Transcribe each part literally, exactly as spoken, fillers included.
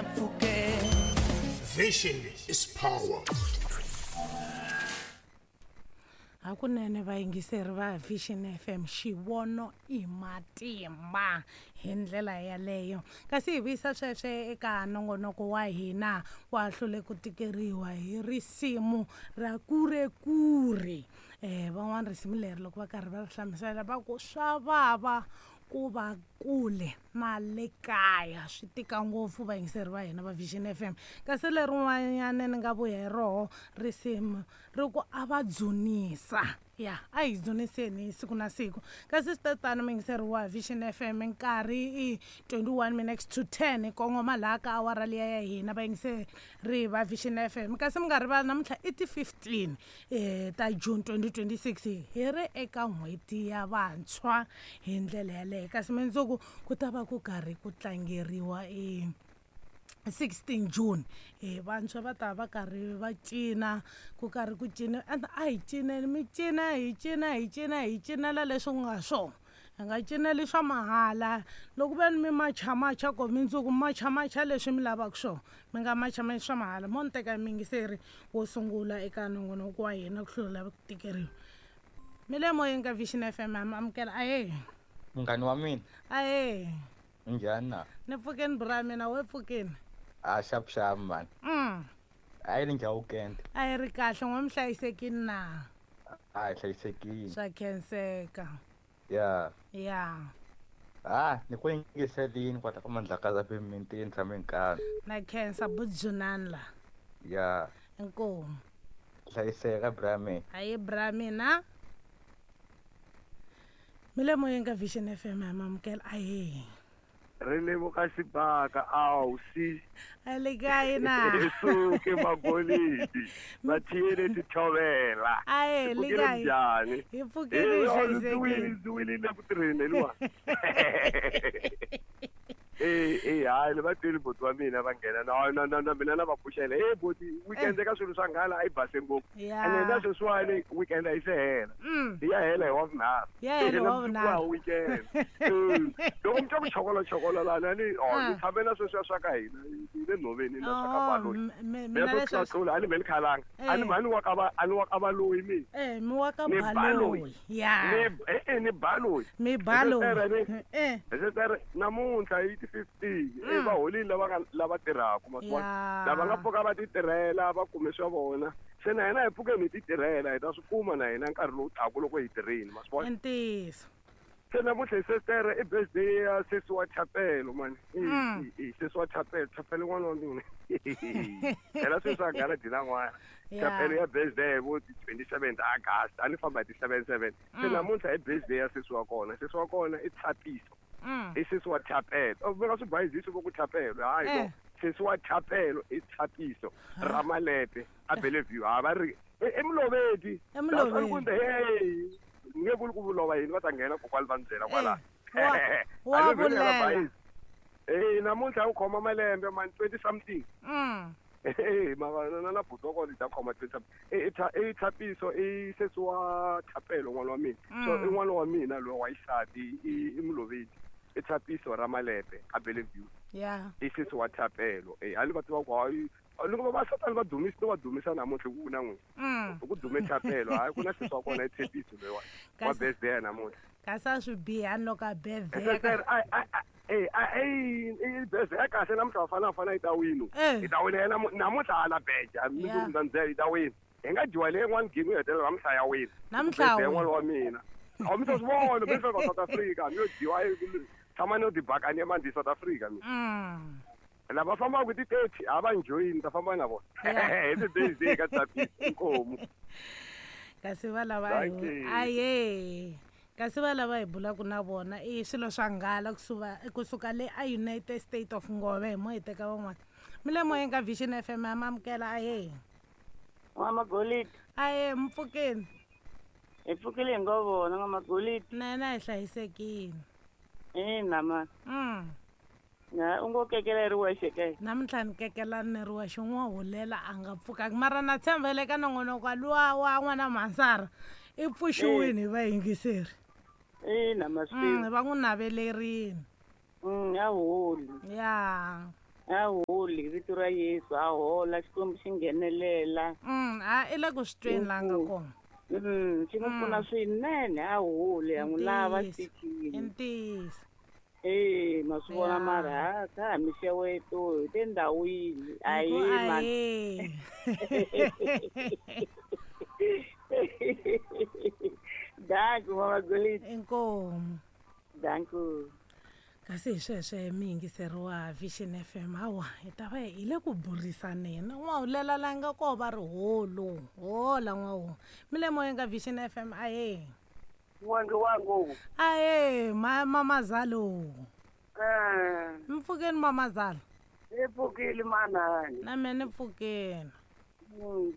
mpfhukeni. Vision is power. Hakunene vayingiseri va Vision F M, xivono i matimba hi ndlela yaleyo. Kasi hi vuyisa sweswe eka nongonoko wa hina wa hlule ku tikeriwa hi risimu ra kurekure. Eh van'wana risimu leri loko va karhi va ri hlamusela va ku swa vava ku va kule na le kaya, swi tika ngopfu vayingiseri va hina va Vision F M. Kasi lerin'wanyana ni nga vuya hi roho risimu ri ku a va dzunisa, ya a hi dzuniseni siku na siku. Kasi swi tano muyingiseri wa Vision F M, nkarhi i twenty-one minutes to ten, hi kongoma laha ka awara liya ya hina vayingiseri va Vision F M. Kasi mi nga rivali namuntlha i ti fifteen eh ta June twenty twenty-six, hi ri eka n'hweti ya vantshwa hi ndlela yaleyo. Kasi mundzuku ku ta va ku karhi ku tlangeriwa e sixteen June, eh vantshwa va ta va karhi va cina, ku karhi ku cina, and a hi cineni mi cina hi cina hi cina hi cinela leswi ku nga swona, hi nga cineli swa mahala. Loko ve ni mi machamacha ko mundzuku machamacha leswi mi lavaka swona, mi nga machamachi swa mahala. Mo ni teka muyingiseri wo sungula eka nongonoko wa hina ku hlula ku tikeriwa. Mi le moyeni ka Vision F M, ha mi amukela. Ahee munghani wa mina. Ahee njhani na? Ni pfukeni bra mina, we pfukeni? A xap xap man. Mm. A yi ri njhani weekend? A yi ri kahle, n'we mi hlayisekile na? A hi hlayisekile. Swa khenseka. Ya. Ya. Ah, ni ku yingiselini kwala ka Mandlakazi a mintini tshame nkani. Na khensa budzunani la. Ya. Inkomu. Hlayiseka bra mina. Ayi bra mina. Mi le moyeni ka Vision F M, ha mi amukela. Ahee. Ri lemuka xibaka awu si a le kae na suke magolidi va thiyele tithovela. Ahe le kae njhani? Hi pfukile hi hlayisekile. Ndzi wile ku tirheni liwa. Eh eh hayi le va twile boti wa mina va nghena na na na na mina na va pfuxela. Eh boti weekend ka swilo swa nghala a yi base ngopfu. Ene na sweswiwani weekend a yi se hela. Ya hela hi wa vunharhu. Ya hela hi wa vunharhu weekend. Loko mi twa ku chokolo chokolo lana ni oh ni tshame na sweswiya swa ka hina hi le nhoveni na swa ka baloyi. Mina leswi tlula a ni mheli khalanga. A ni mhani wa ka va a ni wa ka baloyi mi. Eh mi wa ka baloyi. Ya. Ni eh ni baloyi. Mi baloyi. Eh. Namuntlha hi fifteen eh va holile lava nga lava tirhaka maswona lava nga pfuka va ti tirhela va kume swa vona se na hina hi pfuke hi ti tirhela hi ta swi kuma na hina nkarhi lowu taka loko hi tirhile maswona. Ntiyiso. Se namuntlha hi sestere i birthday ya sesi wa Chapelo mani. I sesi wa Chapelo, Chapelo n'wana wa mina. Phela sweswi a nghala dina n'wana. Chapelo ya birthday vo ti twenty-seventh August a ni famba hi ti seven seven. Se namuntlha i birthday ya sesi wa kona, sesi wa kona i Tshapiso. I sesi wa Chapelo. O veka swi bayizisi vo ku Chapelo hayi no. Sesi wa Chapelo i Tshapiso Ramalepe a Bellevue. Ha va ri i Mulovedi. Emulovedi. Hey nge vuli ku vulova yini va ta nghena kokwani va ni byela kwala. Wa vulela. Eh namuntlha u khoma malembe man twenty something. Mm. Eh mara na na buti wa kona i ta khoma twenty something. I i Tshapiso i sesi wa Chapelo n'wana wa mina. So i n'wana wa mina loyi wa xisati i Mulovedi. I Tshapiso Ramalepe a Bellevue. Yeah. I sesi wa Chapelo. Eh a ni va tiva ku hayi loko va satani va dumisa va dumisa namuntlha ku na n'wina. Ku dume Chapelo hayi ku na sesi wa kona i Tshapiso loyi wa wa birthday namuntlha. Kasi a swi biha loko a birthday. Eh eh birthday ya kahle namuntlha vafana vafana yi ta wina. Yi ta wina yena namuntlha hala beja mundzuku ndza ndzela yi ta wina. Hi nga dyiwa leyi yin'wana game yo hetelela namuntlha ya wina. Namuntlha n'wana wa mina. A mi ta swi vona mi fika South Africa mi yo dyiwa tshama no tibakani emandi South Africa mi. Lava fambaka ti thirty a va njoyini ta famba na vona. Hi ti days ka Tshapiso inkomu. Kasi va lava aye. Kasi va lava hi bulaka na vona i swilo swa nghala kusuka kusuka le a United States of Ngove hi mo hi teka van'wana. Mi le moyeni ka Vision F M ya mamukela. Aye. N'wamagolidi. Aye mpfukeni. Hi pfukile hi ngo vona n'wamagolidi. Na hina hi hlayisekile. Ina ma. Mm. Na u ngo kekela ri wexe ke? Namuntlha ni kekela ni ri wexe n'wa hulela a nga pfukanga mara na tshembele ka nongonoko luwa wa n'wana Mhansara i pfuxiwini hi vayingiseri. Ina ma swi va n'wi navelerini. Mm, ya holi. Ya. A holi vito ra Yesu a hola Xikwembu xi nghenelela. Mm, a i le ku swi tweni la nga kona. Mm, xi n'wi pfuna swinene a holi ya n'wi lava xitichini. I ntiyiso. Eh, ma swi vona mara ha ka ha mixeweto hi tindhawini ayi man. Danko mama Goliti. Inkomu. Danko. Kasi hi sweswe mi yingiseri wa Vision F M hawa hi ta va hi le ku burisaneni n'wahulela la nga koho va ri holo hola n'wahu mi le moyeni ka Vision F M ahe wangu wangu ahe ma mamazalo eh mpfukeni mamazalo ni pfukile manani na mina ni pfukeni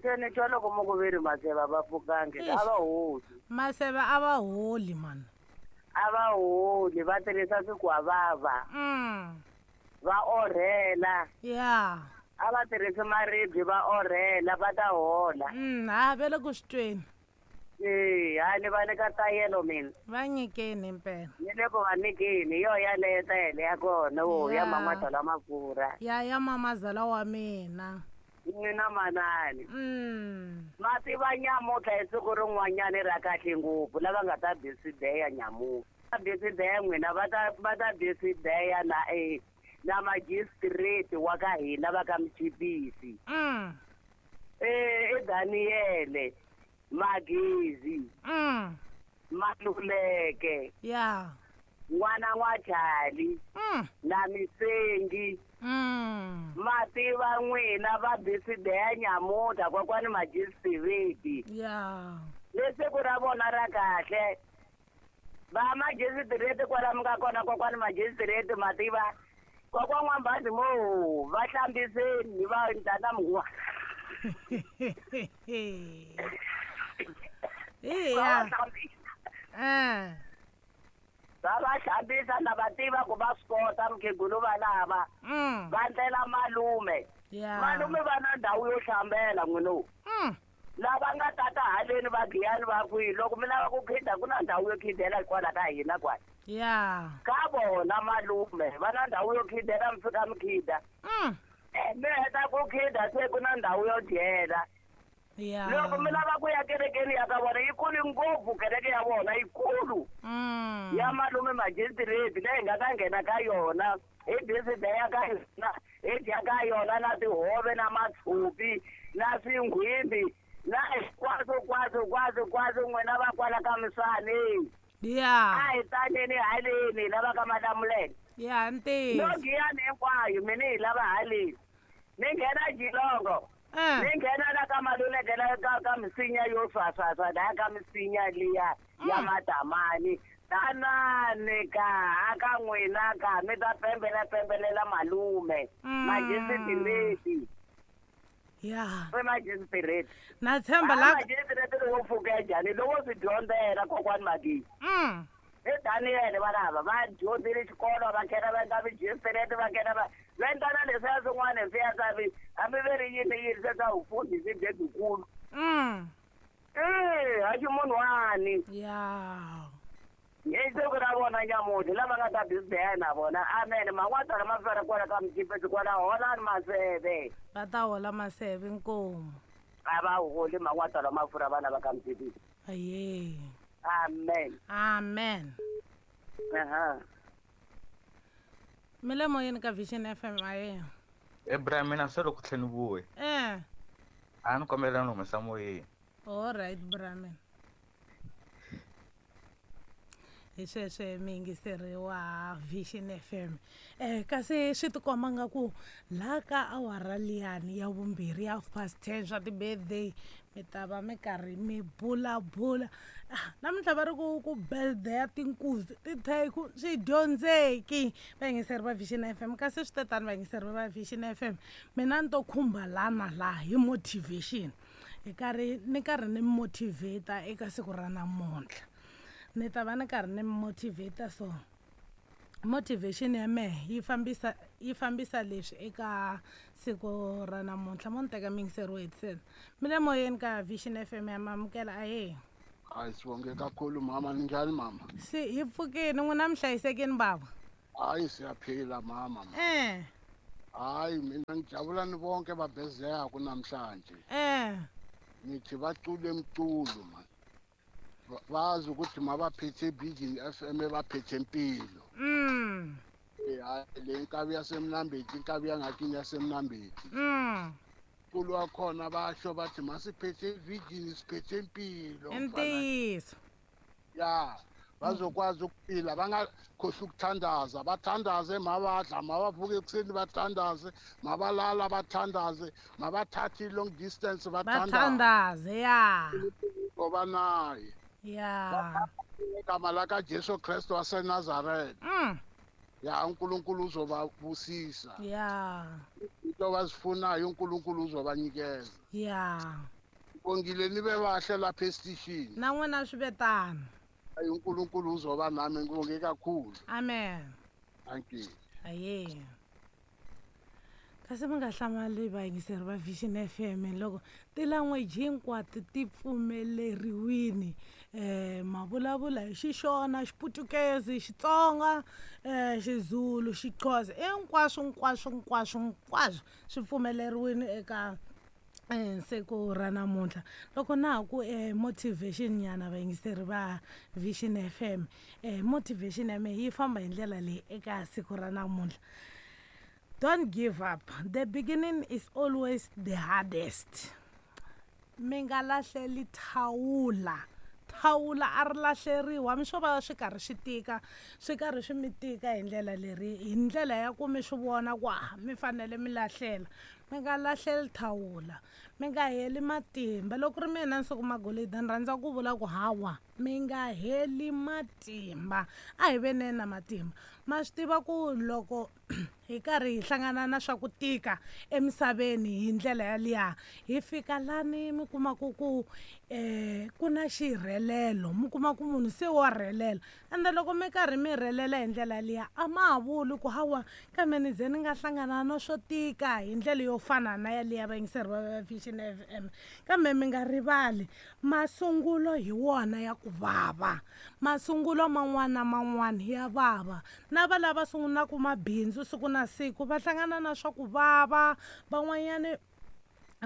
se ni twa loko mo ku ve ri maseve a va pfukangi a va holi maseve a va holi mani a va holi va tirhisa swikwavava va orhela ya a va tirhisi maribye va orhela va ta hola ha ve le ku swi tweni e ha ni va nyika tayelo mina va nyikeni impela ni le ku va nyikeni yo yaleyo tayele ya kona wo ya man'watala mafurha ya ya mamazala wa mina mina manani mm. ma tiva nyamutlha hi siku rin'wanyani ra kahle ngopfu lava nga ta bisideya nyamutlha bisideya n'wina va ta va ta bisideya na e na magistrate wa ka hina va ka Mchipisi mm. eh i Daniele Magezi mm. Maluleke ya n'wana n'wa Chali mm. na Misengi mm. ma tiva n'wina va bisideya nyamutlha kokwani magistrate ya le siku ra vona ra kahle va magistrate kwala mi nga kona kokwani magistrate ma tiva kokwa n'wambazi mo va hlambiseni va ndlana mungwa ya eh va va hlambisa na va tiva ku va swi kota mukhegulu va lava va ndlela malume malume va na ndhawu yo hlambela n'wino lava nga tata haleni va giyani va kwihi loko mi lava ku khida ku na ndhawu yo khidela kwala ka hina kwala ya ka vona malume va na ndhawu yo khidela mi fika mi khida mi heta ku khida se ku na ndhawu yo dyela ya loko mi lava ku ya kerekeni ya ka vona yi kulu ngopfu kereke ya vona yi kulu ya malume magistrate leyi nga ta nghena ka yona hi bisideya ka yona hi dya ka yona na tihove na matshupi na swinghwimbi na hinkwaswo kwaswo kwaswo kwaswo n'wina va kwala ka misani ya a hi taneni haleni hi lava ka Malamulele ya ntiyiso no giyani hinkwayo mina hi lava haleni ni nghena Jilongo ni nghena la ka Maluleke la ka ka misinya yo swaswaswa la ka misinya liya ya matamani tanani ka aka n'wina ka mi ta pembela pembelela malume magistrate ya se magistrate na tshemba la magistrate lowo pfuka njhani lowo swi dyondzela kokwani Magezi mm i Daniele va lava va dyondzile xikolo va nghena va endla magistrate va nghena va va endla na leswiya swin'wana leswiya swa hambi ve ri yini yini se swa vufundhisi lebyikulu mm e haxi munhu wani ya hi siku ra vona nyamutlha lava nga ta bisideya na vona amen man'watala ma fela kwala ka Mchipisi kwala holani maseve va ta hola maseve nkomu a va holi man'watala mafurha vana va ka Mchipisi aye amen amen aha mi le moyeni ka Vision F M aye Abraham mina se loko tlheni vuye eh a ni kombela ni humesa moyeni all right Brahman hi sweswe mi yingiseri wa Vision F M eh kasi swi tikomba nga ku laha ka awara liyani ya vumbirhi ya half past ten swa ti-birthday mi ta va mi karhi mi bulabula namuntlha va ri ku ku birthday ya tinkuzi titheku swi dyondzeki vayingiseri va Vision F M kasi swi te tani vayingiseri va Vision F M mina ni to khumba lana laha hi motivation hi karhi ni karhi ni motivate eka siku ra namuntlha ni ta va ni karhi ni motivate so motivation ya mehe yi fambisa yi fambisa leswi eka siku ra namuntlha mo ni teka miyingiseri wo hetisela mi le moyeni ka Vision F M ya mamukela ahe hayi sibonge kakhulu mama ninjani mama si hi pfukini n'wina mi hlayisekini bava hayi siyaphila mama eh Hayi mina ngijabula ni bonke babezeyako namhlanje. Eh. Nithi bacule emculo man. Bazi ukuthi mabaphethe Vision F M baphethe impilo. Mm. Eh hayi le nkabi yaseMnambithi inkabi yangakini yaseMnambithi. Mm. Mculo wakhona basho bathi masiphethe Vision siphethe impilo. Intiyiso. Ya. Bazokwazi ukuphila bangakhohlwa ukuthandaza bathandaze mabadla mabavuke ekuseni bathandaze mabalala bathandaze mabathathe long distance bathandaze bathandaze ya ngoba naye ya igama laka Jesu Kristu waseNazaretha. Mm. Ya uNkulunkulu uzobabusisa. Ya into abazifunayo uNkulunkulu uzobanikeza. Ya ngibongile nibe bahle lapha esitishini na n'wina swi vetana. uNkulunkulu uzoba nami ngibonge kakhulu. Amen. Thank you. Aye. Kasi mi nga hlamali vayingiseri va Vision F M loko ti-language hinkwato ti pfumeleriwini eh mavulavula hi Xixona, Xiputukezi, Xitsonga, eh Xizulu, Xixhosa, hinkwaswo hinkwaswo hinkwaswo hinkwaswo swi pfumeleriwini eka siku ra namuntlha. Loko na ha ku eh, motivation nyana vayingiseri va Vision F M eh, motivation ya mehe yi famba hi ndlela leyi eka siku ra namuntlha. Don't give up. The beginning is always the hardest. Mi nga lahleli thawula. Thawula a ri lahleriwa mi swo va swi karhi swi tika swi karhi swi mi tika hi ndlela leri hi ndlela ya ku mi swi vona ku ah mi fanele mi lahlela. Mi nga lahleli thawula, mi nga heli matimba. Loko ri mina Nsuku Magolide ni rhandza ku vula ku hawa mi nga heli matimba, a hi veneni na matimba. Ma swi tiva ku loko hi karhi hi hlangana na swa ku tika emisaveni hi ndlela yaliya hi fika lani mi kuma ku ku eh ku na xirhelelo, mi kuma ku munhu se wa rhelela. Ende loko mi karhi mi rhelela hi ndlela liya a ma ha vuli ku hawa kambe ni ze ni nga hlangana na swo tika hi ndlela yo fana na yaliya vayingiseri va Vision F M. Kambe mi nga rivali masungulo hi wona ya ku vava, masungulo man'wana na man'wana ya vava. Na va lava sungulaka mabindzu siku na siku va hlangana na swa ku vava, van'wanyani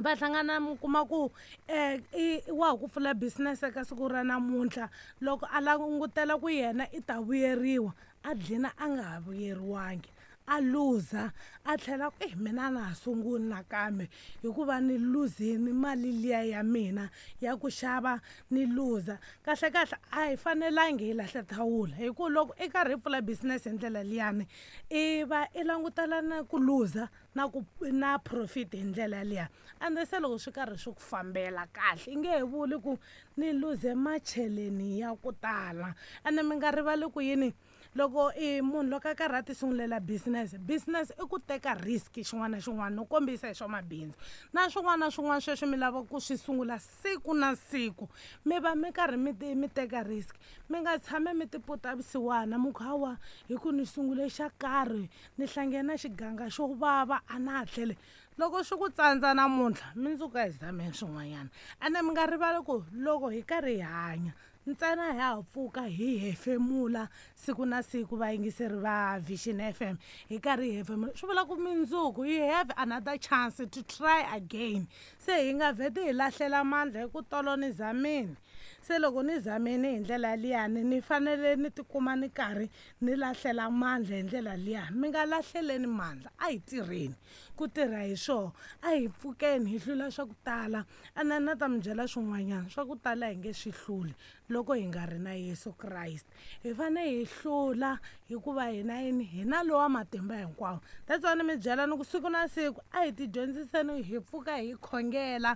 va hlangana mi kuma ku eh i wa ha ku pfula business eka siku ra namuntlha loko a langutela ku yena i ta vuyeriwa a dlina a nga ha vuyeriwangi, a luza a tlhela ku eh mina na ha sunguli nakambe hikuva ni luzini mali liya ya mina ya ku xava ni luza. Kahle kahle a hi fanelangi hi lahla thawula hi ku loko i karhi i pfula business hi ndlela liyani i va i langutela na ku luza na ku na profit hi ndlela liya. Ende se loko swi karhi swi ku fambela kahle i nge he vuli ku ni luze macheleni ya ku tala. Ende mi nga rivali ku yini loko i munhu loko a karhi a ti sungulela business, business i ku teka risk xin'wana na xin'wana no kombisa hi swa mabindzu na swin'wana na swin'wana sweswi mi lava ku swi sungula siku na siku mi va mi karhi mi mi teka risk. Mi nga tshami mi tiputa vusiwana mi ku hawa hi ku ni sungule xa karhi ni hlangene na xiganga xo vava a na ha tlheli. Loko swi ku tsandza namuntlha mundzuku a hi zameni swin'wanyana. Ende mi nga rivali ku loko hi karhi hi hanya ntsena hi ha pfuka hi hefemula siku na siku vayingiseri va Vision F M hi karhi hi hefemula swi vula ku mundzuku you have another chance to try again. Se hi nga vheti hi lahlela mandla hi ku tolo ni zamini, se loko ni zamini hi ndlela liyani ni fanele ni tikuma ni karhi ni lahlela mandla hi ndlela liya. Mi nga lahleleni mandla, a hi tirheni ku tirha hi swona, a hi pfukeni hi hlula swa ku tala. Ene na ta mi byela swin'wanyana swa ku tala hi nge swi hluli loko hi nga ri na Yesu Kreste. Hi fanele hi hlula hikuva hina yini hina lowa matimba hinkwawo. That's why ni mi byela ni ku siku na siku a hi tidyondziseni hi pfuka hi khongela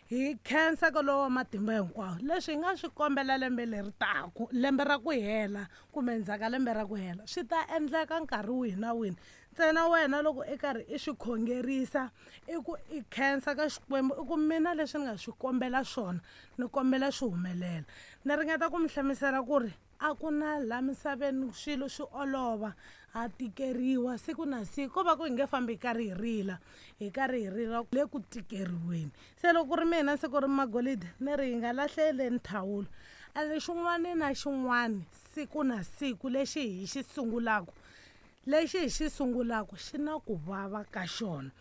hi khensa ka lowa matimba hinkwawo. Leswi hi nga swi kombela lembe leri taku lembe ra ku hela kumbe ndzhaku ka lembe ra ku hela swi ta endleka nkarhi wihi na wihi. Ntsena wena loko i karhi i swi khongerisa i ku i khensa ka Xikwembu i ku mina leswi ni nga swi kombela swona ni kombela swi humelela. Ni ringeta ku mi hlamusela ku ri a ku na laha misaveni swilo swi olova, ha tikeriwa siku na siku ko va ku hi nge fambi hi karhi hi rila hi karhi hi rila le ku tikeriweni. Se loko ku ri mina siku ri Magolide ni ri hi nga lahleleni thawula. Ende xin'wana na xin'wana siku na siku lexi hi xi sungulaka Lexi hi xi sungulaka xi na ku vava ka xona.